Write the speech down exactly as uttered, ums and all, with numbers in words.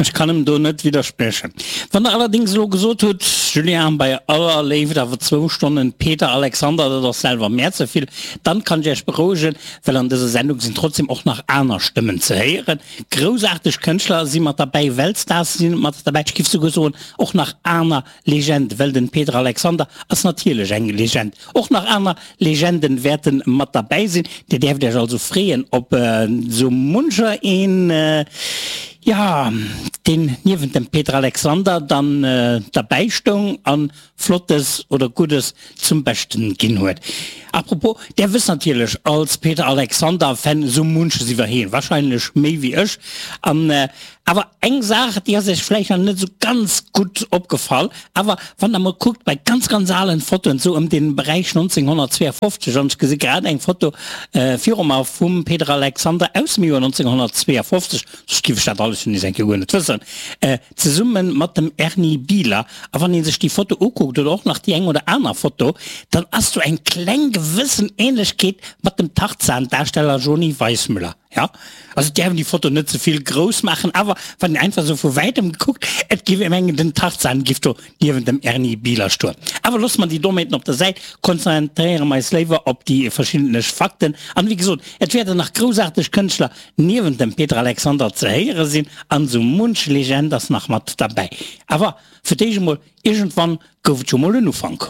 Ech kann em do net widderspriechen. Wann der allerdings elo gesot hutt, Julien, bei aller Léift, awer zwou Stonnen Peter Alexander, dat ass selwer mär ze vill, dann kann ech iech berouegen, well an dëser Sendung sinn trotzdem och nach aner Stëmmen ze héieren. Groussaarteg Kënschtler si mat derbäi, Weltstars si mat derbäi, ech giff souguer soen, och nach aner Legende, well den Peter Alexander ass natierlech eng Legend. Och nach aner Legenden wäerten mat derbäi sinn. Dir däerft iech also freeën op sou muncher een, jo, deen niewent dem Peter Alexander dann derbäi stoung an Flottes oder Guddes zum Beschten ginn huet. Apropos, där wësst natierlech als Peter Alexander Fan sou munches iwwer heen, wahrscheinlech méi wéi ech, an awer eng Saach, déi ass iech vläicht nach net sou ganz gutt opgefall, awer wann der mol kuckt bei ganz ganz alen Fotoen, sou ëm den Beräich nonzénghonnertzweeafofzeg, an ech gesi grad eng Foto viru mer vum Peter Alexander aus dem Joer nonzénghonnertzweeafofzeg, soss giff ech dat alles jo nees eng Kéier guer net wëssen, zesummen mat dem Erny Bieler, a wann een sech déi Foto ukuckt oder och nach déi eng oder aner Foto, dann ass do eng kleng gewëssen Ähnlechkeet mat dem Tarzan-Darsteller Joni Weissmuller. Jo, also et däerf een déi Foto net ze vill grouss maachen, awer wann een einfach esou vu wäitem kuckt, et giff ee mengen, den Tarzan giff do niewent dem Erny Bieler stoen. Awer loosse mer déi Dommheeten op der Säit, konzentréiere mer eis léiwer op déi verschiddentlech Fakten. An wéi gesot, et wäerten nach groussaarteg Kënschtler niewent dem Peter Alexander ze héiere sinn, an esou munch Legend ass nach mat derbäi. Awer fir d'éischt emol, iergendwann gouf et jo mol en Ufank.